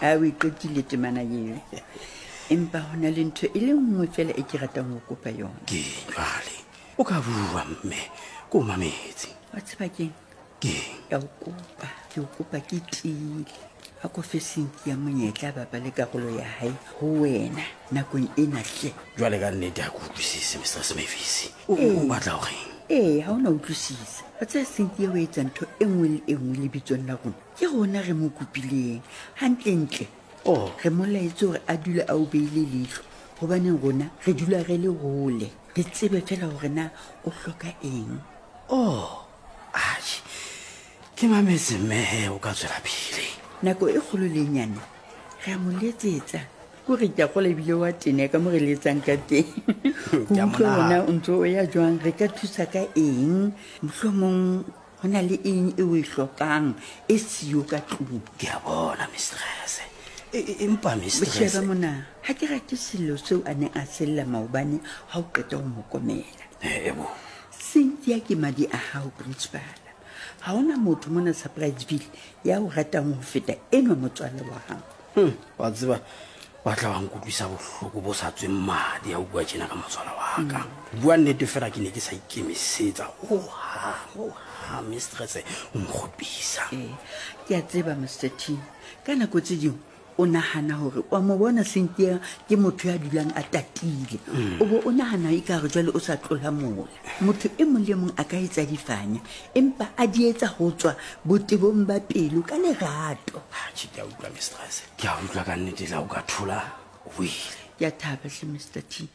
A o e qetile temana eo. Empa ho na le ntho e le nngwe fela e ke ratang ho kopa yona. Ke jwale o ka bua mme ke o mametse. Wa tseba keng? Keng? Ke a o kopa, ke o kopa ke tiile. A ko fe Cynthia monyetla a bapale karolo ya hae ho wena nakong ena hle. Jwale ka nnete ha ke utlwisise Mistress Mavis. O o batla ho reng? Ee, ha o na utlwisisa. Wa tseba Cynthia o etsa ntho e nngwe le e nngwe lebitsong la rona. Ke rona re mo kopileng. Hantlentle, Oh. re mo laetse hore a dule a o beile leihlo hobaneng rona re dula re le hole. Re tsebe fela hore na o hloka eng. Oh, atjhe. Ke mametse mme he o ka tswela pele. Nako e kgolo le e nyane re a mo letsetsa. Ko re ke a kgola ebile wa tene ka mo re letsang ka teng. Ho Ke a mo utlwa hore na nahana. o ntso o ya jwang, re ka thusa ka eng. Mohlomong ho na le eng e o e hlokang e siyo ka tlung. Ke a bona mistress. E, e, empa mistress. Sheba mona, ha ke rate sello seo a neng a sella maobane ha o qeta ho mo komela. E bo. Cynthia ke madi a hao principal. Ha hona motho mona Surpriseville ya o ratang ho feta enwa motswalle wa hao. Wa tseba wa tla wa nkutlwisa bohloko bo sa tsweng madi ha o bua tjena ka motswala wa ka. Bua nnete fela ke ne ke sa ikemisetsa hohang, hohang mistress o nkgopisa. Ee, ke a tseba Mister T. Ka nako tse ding o nahana hore wa mo bona Cynthia ke motho ya dulang a tatile. O bo o nahana ekare jwale o sa tlola mola. Motho e mong le e mong a ka etsa difanya, empa a di etsa ho tswa botebong ba pelo ka lerato. Atjhe, ke a utlwa mistress. Ke a utlwa ka nnete la o ka thola o buile. Ke a thaba hle Mister T.